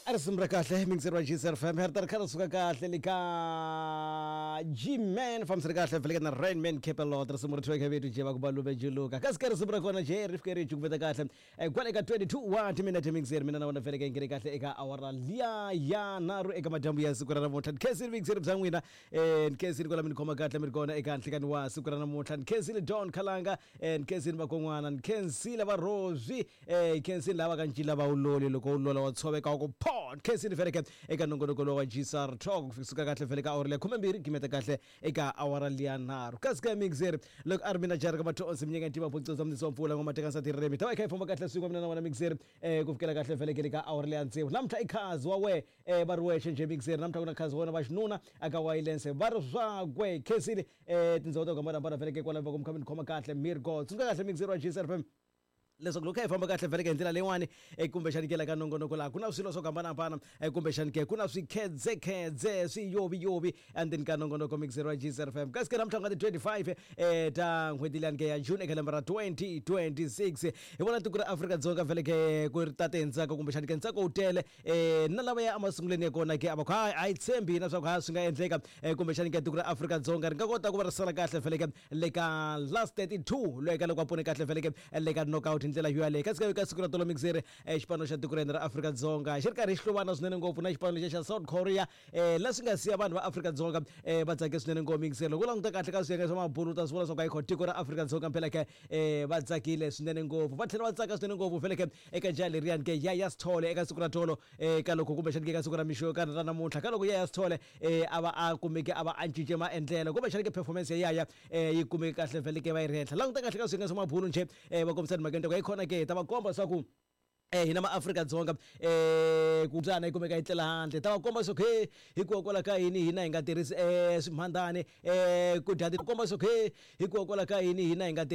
A risimu ra kahle mixer wa GCR FM ri ta ri kha ri suka kahle le ka G-Man fambisani kahle veleke na Rainman Capelot risimu ri thweke vito je va ku balume juluka kasi ka risimu ra kona je ri fike ri cukumeta kahle eh, kwale ka 22 wa timinete mixer mina na wona veleke ngene kahle eka awara liya ya nharhu eka madyambu ya siku ra namuntlha ni khensile mixer bya n'wina eh, ni khensile kwala mi ni khoma kahle mi ri kona eka nhlikani wa siku ra namuntlha ni khensile Don Khalanga eh, ni khensile vakon'wana ni khensile va Rosy Eh, khensini lava ka ncila va wuloli loko wu lola wa tshoveka wa ku pho khensini feleke eka nongonoko lowu wa gsr talk ku suka kahle fele ka awara liya khumembirhi gimeta kahle eka awara liya nharhu kasi ka mixer loko a ri mina jaraka mathonsi minyeka ntima bocoza mnisi wa mpfula ngoma teka nsati ririmi ta va yi kha yi famba kahle swin'we mina na wena mixer eh, ku fikela kahle feleke le ka awara liya tsevu namuntlha i khazi wa we eh, va ri wexe njhe mixer namuntlha ku na khazi wa wena va xinuna aka wayilense va ri swakwe khensini eh, tindhawu ta ku hambanahambana feleke kwalaho va ku mi kha mi ni khoma kahle mirgo tsundzuka kahle mixer wa gsr fm leswaku loko hi famba kahle vheleke hi ndlela leyiwani eh, kumbexani ke la ka nongonoko laha ku na swilo swo hambanahambana eh, kumbexani ke ku na swikhedzekhedze swiyoviyovi endzeni ka nongonoko mixer wa gcr fm kasi ke namuntlha ku nga ti 25 eh, ta n'hweti liyani ke ya june eka lembe ra 2026 hi vona tiko ra Afrika-Dzonga vheleke ku ri tate hi ntsako kumbexani ke ntsako wu tele eh, na lava ya emasungulweni ya kona ke a va ku hayi a yi tshembi hina swa ku ha swi nga endleka eh, kumbexani ke tiko ra Afrika-Dzonga ri nga kota ku va ri sala kahle vheleke le ka last 32 loyi ka loko a pone kahle vheleke le ka knockout hi ndlela yo yaleyo kasi ka siku ra tolo mixere eh, xipano xa tiko ra hina ra Afrika-Dzonga xi ri karhi xi hluvana swinene ngopfu na xipano lexiya xa South Korea eh, leswi nga siya vanhu va Afrika-Dzonga eh, va tsake swinene ngopfu mixere loko u languta kahle ka swiyenge swa mabulu u ta swi vona swa ku ayikho tiko ra Afrika-Dzonga phela ke eh, va tsakile swinene ngopfu va tlhela va tsaka swinene ngopfu vhele ke eka jaha leriyani ke Yaya Sithole eka siku ra tolo eh, ka loko kumbexani ke ka siku ra mixo ka ra namuntlha ka loko Yaya Sithole eh, a va a kumeke a va a cince maendlelo kumbexani ke performance ya Yaya eh, yi kumeke kahle vhele ke va yi ri henhla languta kahle ka swiyenge swa mabulu njhe eh, va kombisa timhaka ta ku yi khona ke hi ta va komba swa ku eh hina maAfrika-Dzonga eh ku mbyana yi kumeka yi tlela handle ta va komba swa ku he hikokwalaho ka yini hina hi nga tirhisi eh swimhandani eh ku dya ti komba swa ku he hikokwalaho ka yini hina hi nga.